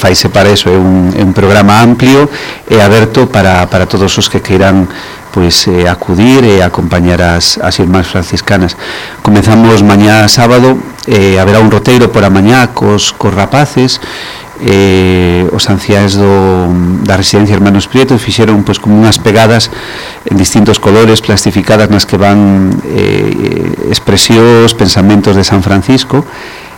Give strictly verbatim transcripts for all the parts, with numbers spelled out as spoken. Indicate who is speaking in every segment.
Speaker 1: faise para eso, é un, é un programa amplio e aberto para, para todos os que queiran pois eh, acudir e acompañar as, as irmás franciscanas. Comenzamos mañá sábado, eh, haberá un roteiro por a mañá cos, cos rapaces, eh, os anciáns do, da residencia Hermanos Prieto fixeron pois como unhas pegadas en distintos colores plastificadas nas que van eh, expresións, pensamentos de San Francisco.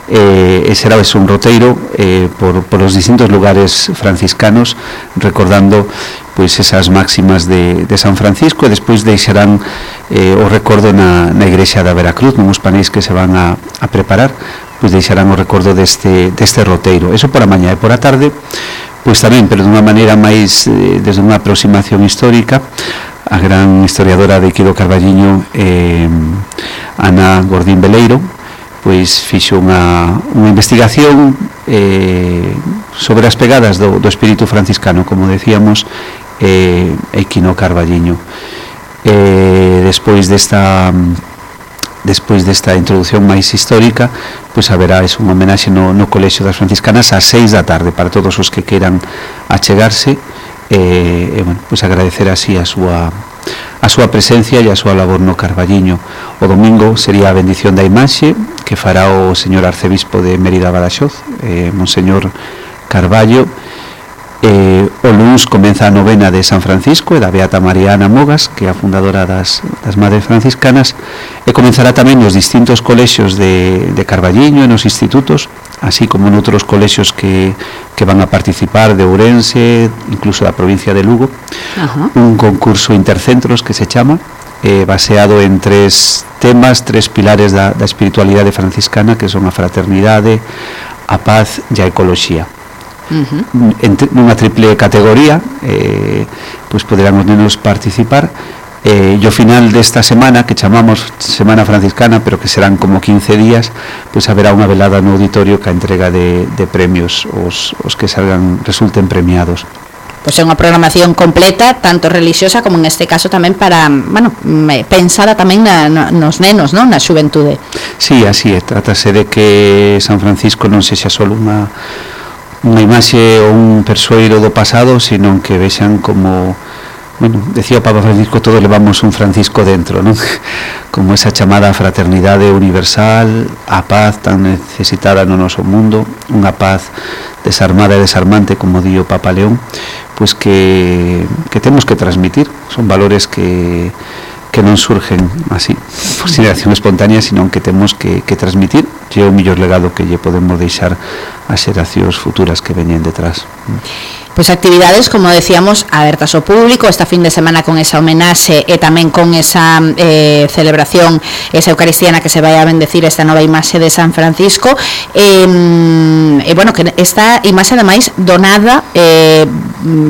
Speaker 1: Eh, e será ese un roteiro eh, por, por os distintos lugares franciscanos recordando pois esas máximas de, de San Francisco, e despois deixarán eh, o recordo na, na igrexa da Veracruz, nos panéis que se van a, a preparar, pois deixarán o recordo deste, deste roteiro. Eso por a mañá, e por a tarde pois tamén, pero dunha maneira máis eh, desde unha aproximación histórica, a gran historiadora de Iquido Carballiño, eh, Ana Gordín Veleiro, pois fixo unha, unha investigación eh, sobre as pegadas do, do espírito franciscano, como decíamos, eh, Iquido Carballiño. Eh, despois desta despois desta introducción máis histórica, pois haberá es un homenaxe no, no Colexio das Franciscanas ás seis da tarde para todos os que queiran achegarse e, e bueno, pois agradecer así a súa a súa presencia e a súa labor no Carballiño. O domingo sería a bendición da imaxe que fará o señor arcebispo de Mérida Badaxoz, eh, Monseñor Carballo. Eh, o luns comeza a novena de San Francisco e da Beata María Ana Mogas, que é a fundadora das, das Madres Franciscanas, e comenzará tamén nos distintos colexios de, de Carballiño e nos institutos, así como noutros colexios que, que van a participar de Ourense, incluso da provincia de Lugo. Ajá. Un concurso intercentros que se chama, eh, baseado en tres temas, tres pilares da, da espiritualidade franciscana, que son a fraternidade, a paz e a ecoloxía. Uh-huh. En unha triple categoría, eh, pois poderán os nenos participar, eh, e ao final desta semana, que chamamos Semana Franciscana, pero que serán como quince días, pois haberá unha velada no auditorio que a entrega de, de premios os, os que salgan, resulten premiados.
Speaker 2: Pois é unha programación completa, tanto religiosa como en este caso tamén para, bueno, pensada tamén na, na, nos nenos, non? Na xuventude.
Speaker 1: Sí, así é, trátase de que San Francisco non sexa só unha unha imaxe ou un persoeiro do pasado, sino que vexan como, bueno, decía o Papa Francisco, todos levamos un Francisco dentro, non? Como esa chamada fraternidade universal, a paz tan necesitada no noso mundo, unha paz desarmada e desarmante, como di o Papa León, pois que, que temos que transmitir. Son valores que que non surgen así por xeración espontánea, sino que temos que, que transmitir, e é o mellor legado que lle podemos deixar ás xeracións futuras que veñen detrás.
Speaker 2: Pois actividades, como decíamos, abertas ao público esta fin de semana con esa homenaxe e tamén con esa eh, celebración, esa eucaristiana que se vai a bendecir esta nova imaxe de San Francisco, e, e bueno, que esta imaxe ademais donada eh,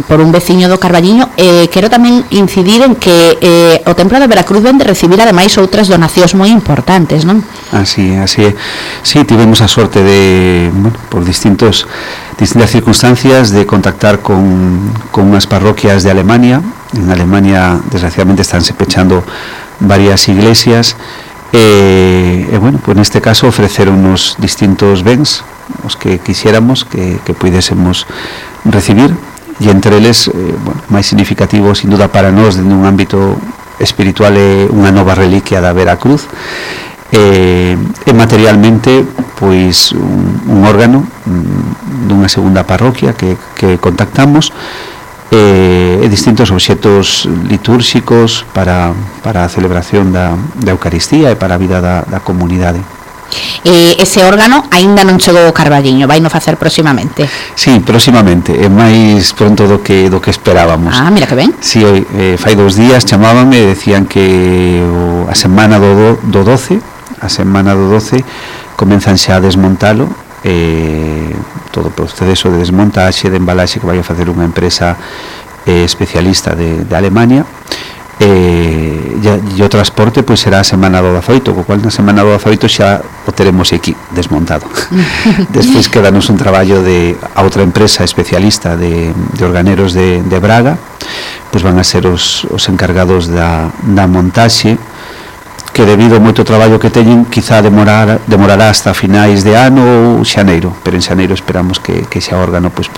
Speaker 2: por un veciño do Carballiño. Eh, quero tamén incidir en que eh, o Templo de Veracruz vende recibir ademais outras donacións moi importantes, non?
Speaker 1: Así, así é. Sí, tivemos a sorte de, bueno, por distintos distintas circunstancias, de contactar con, con unhas parroquias de Alemania. En Alemania, desgraciadamente, estánse pechando varias iglesias, e, e bueno, pues neste caso ofreceronnos distintos bens, os que quixéramos que, que puidésemos recibir, e entre eles, eh, bueno, máis significativo, sin duda para nós, dentro dun ámbito espiritual, é unha nova reliquia da Veracruz, e, e materialmente pois un, un órgano dunha segunda parroquia que, que contactamos, e, e distintos obxetos litúrxicos para, para a celebración da, da Eucaristía e para a vida da, da comunidade.
Speaker 2: E ese órgano aínda non chegou ao Carballiño, vai no facer próximamente?
Speaker 1: Sí, próximamente, é máis pronto do que do que esperábamos.
Speaker 2: Ah, mira que ben.
Speaker 1: Sí, hoy, eh, fai dous días chamábame e decían que o, a semana do, do doce, a semana do doce comenzan xa a desmontalo, eh, todo o proceso de desmontaxe, de embalaxe que vai a facer unha empresa eh, especialista de, de Alemania. Eh, e, e o transporte pois será a semana do dezaoito, co cual na semana do dezaoito xa o teremos aquí desmontado. Despois quedanos un traballo de a outra empresa especialista de, de organeros de, de Braga, pois van a ser os, os encargados da, da montaxe, que debido ao moito traballo que teñen, quizá demorar, demorará hasta finais de ano ou xaneiro, pero en xaneiro esperamos que, que xa órgano pois pode